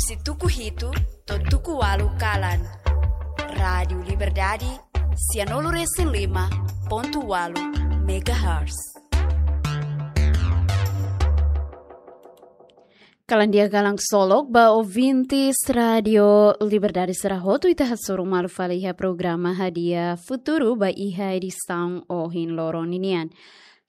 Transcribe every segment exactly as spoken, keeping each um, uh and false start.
Husi tuku hitu to'o tuku ualu kalan. Rádiu Liberdade, sianulu resin lima pontu ualu megahertz. Kalan di'ak, kalan ksolok ba ouvintes Rádiu Liberdade sira hotu, ita hasoru malu fali iha programa Hadi'a Futuru ba iha edisaun ohin loron ninian.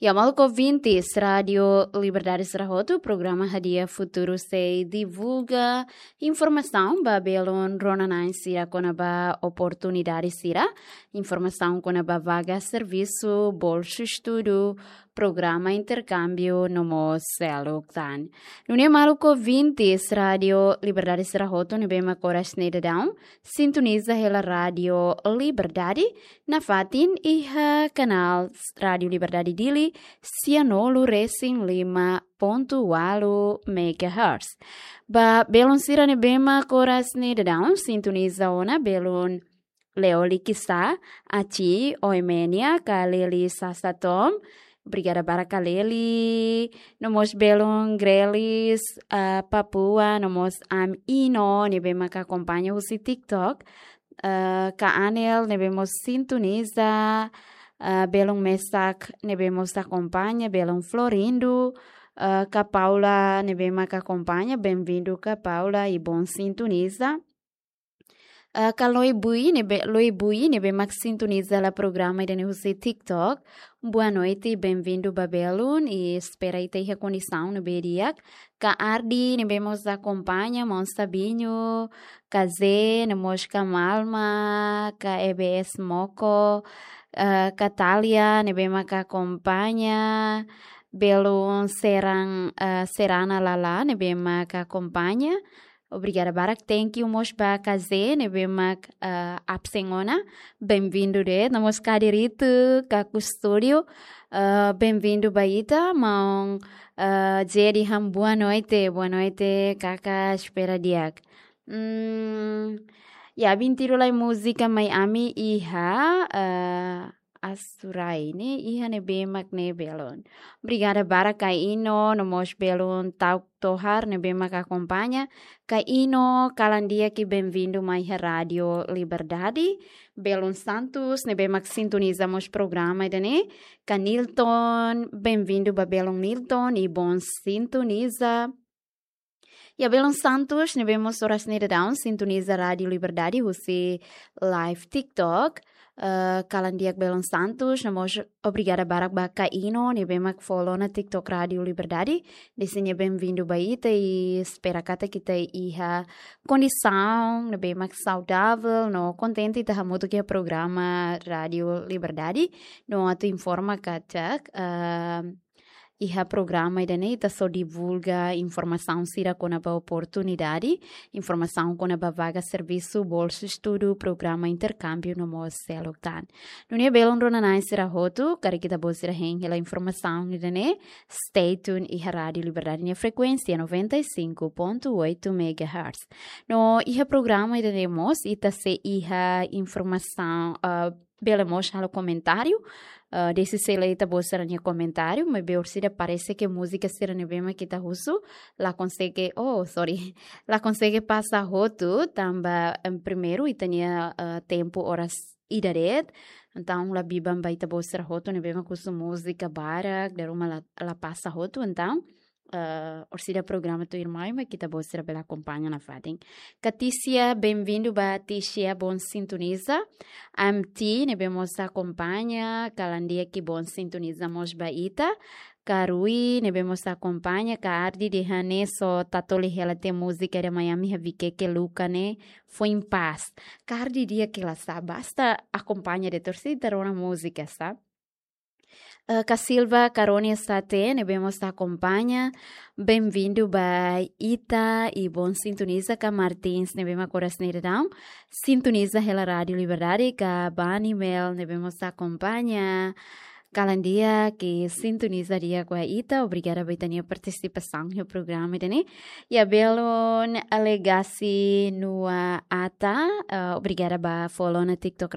Ya, maluk ouvintes Rádiu Liberdade sira hotu, programa Hadi'a Futuru sei divulga informasaun ba belun rona-na'in sira kona-ba oportunidade sira, informasaun kona-ba vaga servisu, bolsu estudu, programa interkámbiu no mós seluk tan. Nune'e maluk ouvintes Rádiu Liberdade sira hotu ne'ebé mak oras ne'e daudaun sintoniza hela Rádiu Liberdade, nafatin iha kanál Rádiu Liberdade Dili, sianulu resin lima pontu ualu megahertz. Ba belun sira ne'ebé mak oras ne'e daudaun sintoniza ona, belun Leoli Kisa, Aci, Oemenia, Kaleli Sasatom, obrigada barak Kaleli, no mós belun Grelis, ah, Papua, no mós Am Ino, ne'ebé mak akompaña husi TikTok, ah, Ka Anel, ne'ebé mós sintoniza, ah, belun Mesak, ne'ebé mós akompaña, belun Florindo, ah, Ka Paula, ne'ebé mak akompaña, benvindu Ka Paula, i bon sintoniza. Ah, Ka Loi Bui ne'ebé, Loi Bui ne'ebé mak sintoniza hela programa ida-ne'e husi TikTok. Boa noite, benvindu ba belun, i espera ita iha kondisaun ne'ebé di'ak. Ka Ardi ne'ebé mós akompaña, maun Sabinho, Ka Ze, no mós Ka Malma, Ka E B S Moko, ah, Ka Talia ne'ebé mak akompaña, belun Serang, ah, Serana Lala ne'ebé mak akompaña. Obrigada barak, thank you mós ba Ka Ze ne'ebé mak, ah, absen ona. Benvindu de'it, no mós Ka Diritu, Ka Kustúdio, ah, benvindu ba ita, maun, ah, Ze dehan boa noite, boa noite, kaka, espera di'ak. Hmm, ya, bintiru lai múzika mai ami iha, ah, Asurai ne'e, iha ne'ebé mak ne'e belun. Obrigada barak Ka Ino, no mós belun Tauk Tohar ne'ebé mak akompaña. Ka Ino, kalan di'ak i benvindu mai iha Rádiu Liberdade. Belun Santos ne'ebé mak sintoniza mós programa ida-ne'e. Ka Nilton, benvindu ba belun Nilton, i bon sintoniza. Ya, belun Santos ne'ebé mós oras ne'e daudaun sintoniza Rádiu Liberdade husi live TikTok. Eh, kalan di'ak belun Santos, no mós obrigada barak ba Ka Ino ne'ebé mak follow ona TikTok Rádiu Liberdade. Dehan nia benvindu ba ita i espera katak ita iha kondisaun ne'ebé mak saudavel no kontente ita hamutuk iha programa Rádiu Liberdade. No atu informa katak, eh, iha programa ida-ne'e ita sei divulga informasaun sira kona-ba oportunidade, informasaun kona-ba vaga servisu, bolsu estudu, programa interkámbiu no mós seluk tan. Nune'e belun rona-na'in sira hotu, karik ita-boot sira hein hela informasaun ida-ne'e, stay tuned iha Rádiu Liberdade nia frekuénsia noventa e cinco ponto oito megahertz. No iha programa ida-ne'e mós ita sei iha informasaun, ah, bele mós halo komentáriu. Ah, dehan se lee ita-boot sira-nia komentáriu, maibé orsida parese ke múzika sira ne'ebé mak ita husu la konsege, oh, sorry, la konsege pasa hotu, tanba, em, primeiru ita-nia, ah, tempu oras ida de'it. Entaun la biban ba ita-boot sira hotu ne'ebé mak husu múzika barak, dala ruma la, la pasa hotu, entaun, eh, orsida programa tuirmai mak ita-boot sira bele akompaña nafatin. Ka Tisia, benvindu ba Tisia, bon sintoniza. M T ne'ebé mós akompaña, kalan di'ak i bon sintoniza mós ba ita. Ka Rui ne'ebé mós akompaña, Ka Ardi dehan ne'e só tatoli hela tiha múzika ida mai ami iha Viqueque, Luca ne'e, Foin Paz. Ka Ardi di'ak hela sá, basta akompaña de'it, orsida rona múzika sá. Eh, Ka Silva, Ka Ronia Sate ne'ebé mós akompaña, benvindu ba ita i bon sintoniza. Ka Martins ne'ebé mak oras ne'e daudaun sintoniza hela Rádiu Liberdade. Ka Bani Mel ne'ebé mós akompaña, kalan di'ak i sintoniza di'ak ba ita, obrigada ba ita-nia partisipasaun iha programa ida-ne'e. Ya, belun Alegasi Nua Ata, eh, obrigada ba follow ona TikTok